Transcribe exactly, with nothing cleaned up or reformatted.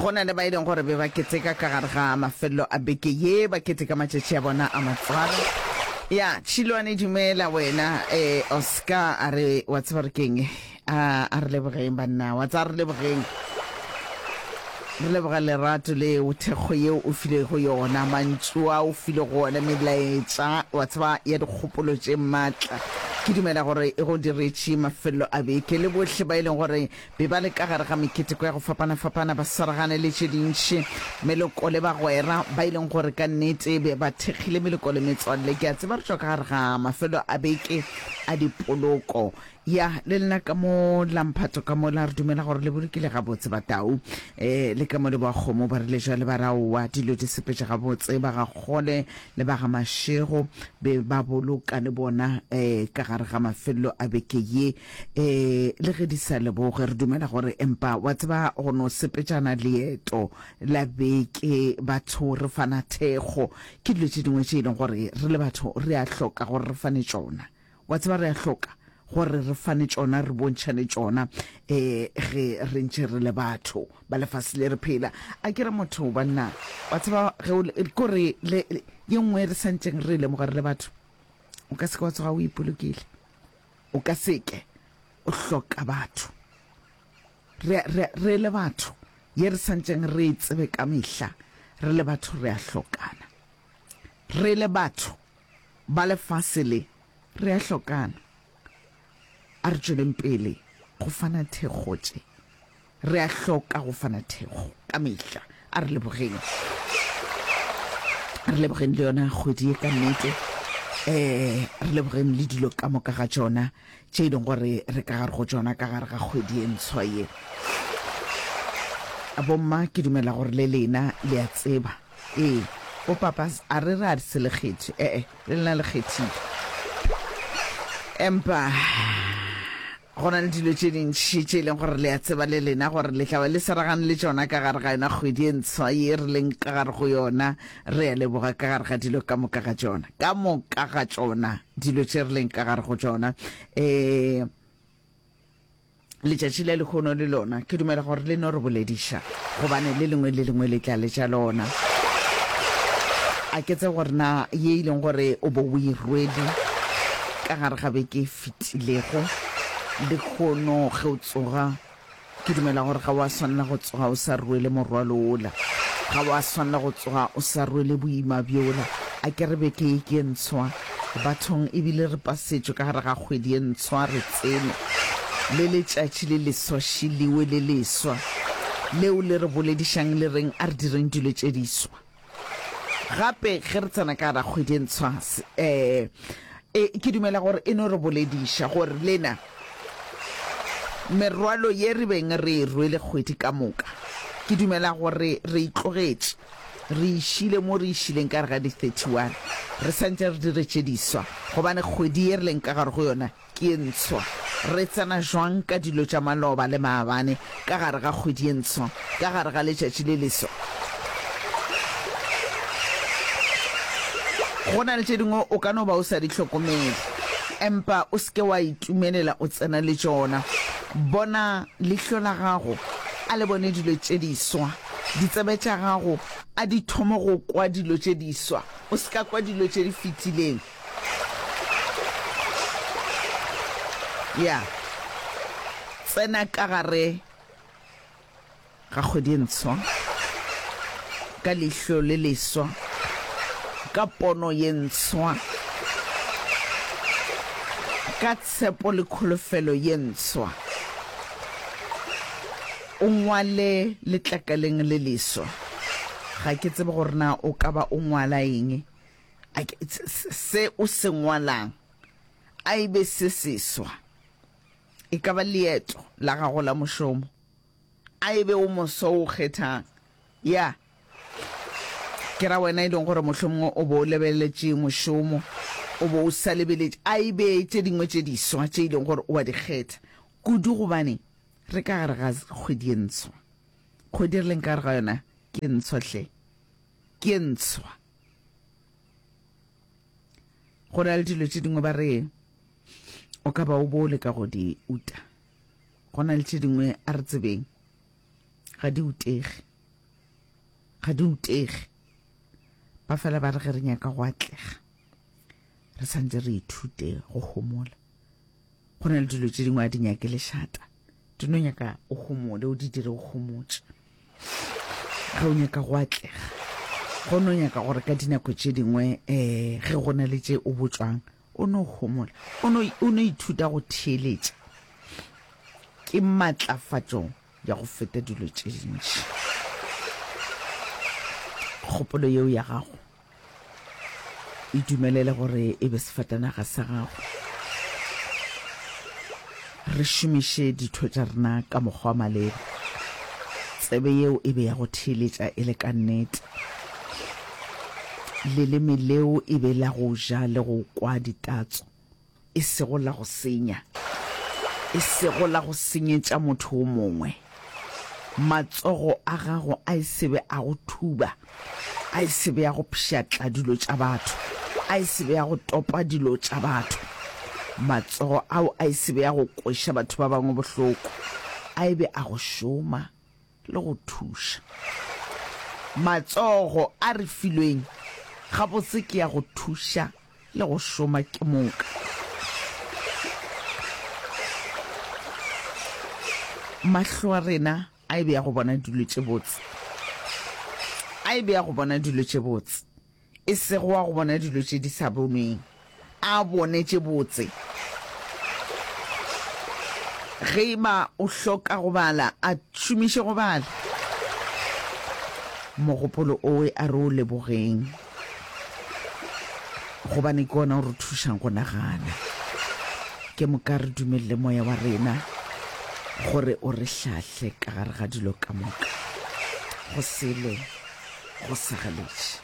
Go na le ba e leng gore be ba keteka ka gare ga mafelelo a beke ye, ba keteka matšatši a bona a matswalo. Ya, Tšhilwane dumela wena, eh, Oscar a re, wa tseba re keng, a, a re lebogeng banna, wa tseba re lebogeng. Re leboga lerato leo, thekgo yeo o filego yona, mantšu a o filego ona, melaetša, wa tseba, ya dikgopolo tše matla. Ke dumela gore e go diretše mafelelo a beke. Le bohle ba e leng gore be ba le ka gare ga meketeko ya go fapana-fapana, ba swaragane le tše dintši, meloko le bagwera ba e leng gore ka nnete be ba thekgile meloko le metswalle. Ke a tseba re tšwa ka gare ga mafelo a beke a dipoloko. Ya, le lena ka mo la mphato ka mo la re dumela gore le bolokile gabotse Batau. E, le ka mo le boa kgomo ba rile jwale ba re aowa dilo di sepetše gabotse, ba ga Kgole le ba ga Mashego be ba boloka le bona e, ka gare ga mafelelo a beke ye. E, le ge di sa leboge re dumela gore empa wa tseba go no sepetšana leeto la beke batho re fana thekgo ke dilo tše dingwe tše e leng gore re le batho re a hloka gore re fane tšona. Wa tseba re a hloka gore re fane tšona, re bontšhane tšona eh ge re ntše re le batho ba lefase le re phela. A ke re motho banna, wa tseba ge o kore le ye nngwe re santšeng re lemoga re le batho, o ka se ke wa tsoga o ipolokile, o ka se ke o hloka batho. Re, re, re le batho ye re santšeng re e tsebe ka mehla, re le batho re a hlokana. Re le batho ba lefase le re a hlokana. A re tšweleng pele go fana thekgo tše. Re a hloka go fana thekgo ka mehla. A re lebogeng. Re lebogeng le yona kgwedi ye ka nnete. Eh, re lebogeng le dilo ka moka ga tšona tše e leng gore re ka gare go tšona ka gare ga kgwedi ye ntshwa ye. Bomma ke dumela gore le lena le a tseba. Ee, bo papa a re re a se le kgethe. Eh, eh, le lena le kgethile. Empa go na le dilo tše dintši tše e leng gore le a tseba le lena gore le tla ba le swaragane le tšona ka gare ga yona kgwedi e ntshwa ye re leng ka gare go yona. Re a leboga ka gare ga dilo ka moka ga tšona, ka moka ga tšona dilo tše re leng ka gare go tšona. Eh, letšatši le lehono le lona ke dumela gore le no re bolediša, gobane le lengwe le lengwe le tla le tša lona. A ke tsebe gore na ye e leng gore o bo o e rwele ka gare ga beke e fetilego, lehono ge o tsoga ke dumela gore ga wa swanela go tsoga o sa rwele morwalo ola, ga wa swanela go tsoga o sa rwele boima bjola. A ke re beke ye ke e ntshwa bathong, ebile re pasetšwe ka gare ga kgwedi ye ntshwa, re tsene le letšatši le leswa šiliwe le leswa leo le re boledišang le reng a re direng dilo tše diswa. Gape ge re tsena ka gare ga kgwedi e ntshwa, eh, e, ke dumela gore e no re bolediša gore lena merwalo ye re beng re e rwele kgwedi ka moka, ke dumela gore re itlogetše, re išile mo re išileng ka gare ga di thirty-one, re santše re dire tše diswa, gobane kgwedi ye re leng ka gare go yona ke ye ntshwa. Re tsena jwang ka dilo tša maloba le maabane ka gare ga kgwedi ye ntshwa, ka gare ga letšatši le leswa? Go na le tše dingwe o ka no ba o sa di hlokomele, empa o se ke wa itumelela o tsena le tšona. Bona leihlo la gago a le bone dilo tše diswa, ditsebe tša gago a di thome go kwa dilo tše diswa, o se ka kwa dilo tše di fetileng. Ya tsena ka gare ga kgwedi e ntshwa ka leihlo le leswa, ka pono ye ntshwa, ka tshepo le kholofelo ye ntshwa. O ngwale letlakaleng le leswa. Ga ke tsebe gore na o ka ba o ngwala eng. A ke, se o se ngwalang a e be se seswa. E ka ba leeto la gago la mošomo, a e be o moso o kgethang. Ya, ke ra wena e leng gore mohlomongwe o bo o lebeletše mošomo, o bo o sa lebeletše, a e be tše dingwe tše diswa tše e leng gore o a di kgetha kudu, gobane re ka gare ga kgwedi e ntshwa. Kgwedi re leng ka gare ga yona ke ntshwa hle, ke ntshwa. Go na le dilo tše dingwe ba re o ka ba o bo o leka go di uta, go na le tše dingwe a re tsebeng ga di utege. Ga di utege. Ba fela ba re ge re nyaka go atlega, re santse re ithute go homola. Go na le dilo tše dingwe a di nyake lešata, di no nyaka o homole, o di dire o homotše. Ge o nyaka go atlega, go no nyaka gore ka dinako tše dingwe um ge go na le tše o botšwang, o no homola, o no, o no ithuta go theeletša. Ke matlafatšo ya go feta dilo tše dintši. Kgopolo yeo ya gago e dumelele gore e be sefatanaga sa gago. Re šomiše ditho tša rena ka mokgwa wa maleba. Tsebe yeo e be ya go theeletša e le ka nnete. Leleme leo e be la go ja le go kwa ditatso, e sego la go senya, e sego la go senyetša motho o mongwe. Matsogo a gago a e se be a go thuba, a e se be a go pšhatla dilo tša batho, a e se be a go topa dilo tša batho. Matsogo ao a e se be a go kweša batho ba bangwe bohloko, a e be a go šoma le go thuša. Matsogo a re filweng gabotse ke ya go thuša le go šoma ke moka. Mahlo a rena a e be ya go bona dilo tše botse, a e be ya go bona dilo tše botse, e sego wa go bona dilo tše di sa bonweng, a bone tše botse. Ge e ba o hloka go bala, a šomiše go bala. Mogopolo owe a re o lebogeng, gobane ke ona o re thušang go nagana. Ke moka re dumelele moya wa rena gore o re hlahle ka gare ga dilo ka moka, go sele go sa galetše.